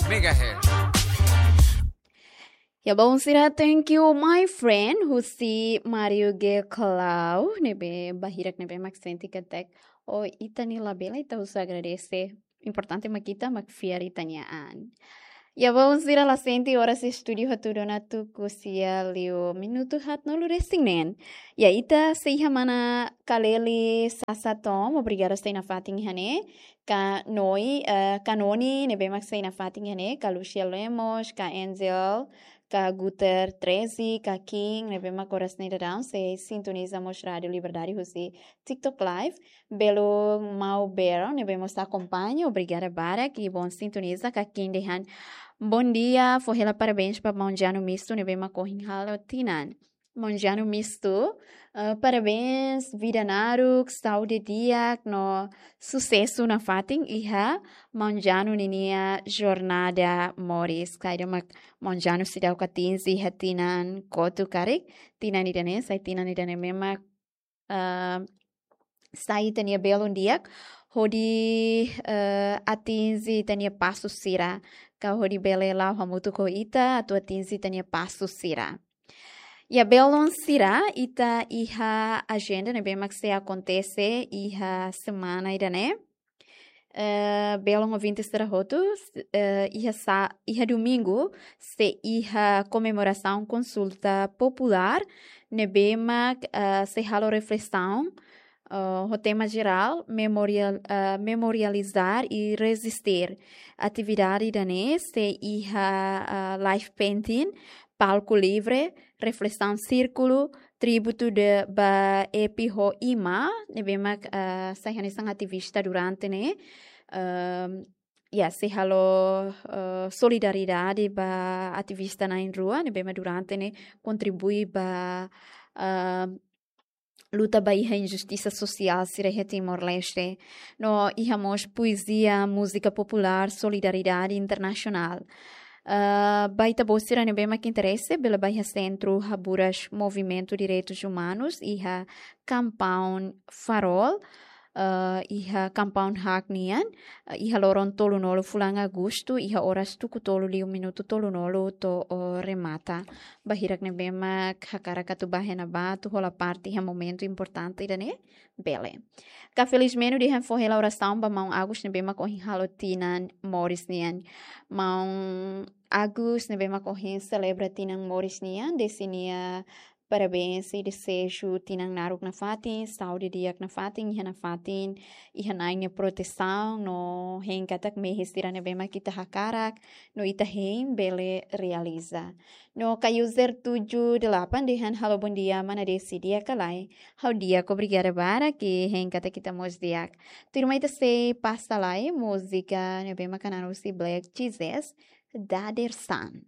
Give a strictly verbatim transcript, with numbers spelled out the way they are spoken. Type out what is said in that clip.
megahertz. Ya, bom sira, thank you, my friend, husi Mario G Klau, ne'ebé bahirak ne'ebé mak sente katak, oh, ita-nia labele, ita husu agradese. Importante mak ita mak fiar ita-nia an. Ya, bom sira, la sente oras estúdiu hatudu ona tuku sia liu minutu haatnulu-resin-neen. Ya, ita sei iha mana Kaleli Sasa Tom, obrigada sei nafatin iha ne'e. Ka Noi, eh, Ka Noni, ne'ebé mak sei nafatin iha ne'e, ka Lucia Lemos, ka Angel, ka Guter treze, ka King, ne'ebé mak oras ne'e daudaun sei sintoniza mós Rádio Liberdade husi TikTok Live. Belun Mau Bero, ne'ebé mós akompaña, obrigada barak, i bom sintoniza, ka King dehan: Bom dia, fó hela parabéns ba maun Jano Misto, ne'ebé mak ohin halo tinan. Maun Jano Misto, eh, parabéns, vida naruk, saúde di'ak, no susesu nafatin iha maun Jano ninia jornada moris. Kaida mak maun Jano seidauk atinje iha tinan kotuk karik, tinan ida-ne'e, sai tinan ida-ne'e memang, eh, sai ita-nia belun di'ak, hodi, eh, atinje ita-nia pasu sira, ka hodi bele la'o hamutuk ho ita, atu atinje ita-nia pasu sira. Ya, belun sira, ita iha ajenda ne'ebé mak sei akontese iha semana ida-ne'e. Eh, belun ouvinte sira hotu, eh, iha sa-, iha domingu, sei iha komemorasaun konsulta populár, ne'ebé mak, eh, sei halo reflesaun, eh, ho tema jerál, memorial, eh, memorializar e resistir. Atividade ida-ne'e sei iha, eh, live painting, palku livre, reflesaun sírkulu, tributu de ba Epi ho Ima, ne'ebé mak, eh, sai hanesan ativista durante ne'e. Ehm, ya, sei halo, eh, solidariedade ba ativista na'in-rua, ne'ebé mak durante ne'e kontribui ba, eh, luta ba iha injustisa sosiál sira iha Timor-Leste. No iha mós poezia, múzika populár, solidariedade internasionál. Ah, ba ita-boot sira ne'ebé mak interese, bele ba iha Sentru Haburas Movimentu Direitus Umanus, iha Compound Farol, ah, iha compound haak nian, ah, iha loron tolunulu fulan Agostu, iha oras tuku tolu liu minutu tolunulu to'o remata. Bahirak ne'ebé mak hakarak atu bá iha ne'ebá atu hola parte iha momentu importante ida-ne'e, bele. Ka Felizmenu dehan fó hela orasaun ba maun Agus ne'ebé mak ohin halo tinan moris nian. Maun Agus ne'ebé mak ohin selebra tinan moris nian, desi nia parabéns i dezeju tinan naruk nafatin, saúde di'ak nafatin, iha nafatin, iha Na'i nia protesaun, no hein katak mehi sira ne'ebé mak ita hakarak, no ita hein bele realiza. No ka user tujuh delapan dehan halo bom dia, mana Desi, di'ak ka lae? Ha'u di'ak, obrigada barak, i hein katak ita mós di'ak. Tuirmai ita sei pasa lai múzika ne'ebé mak hanesan husi Black Jesus, Dadersan.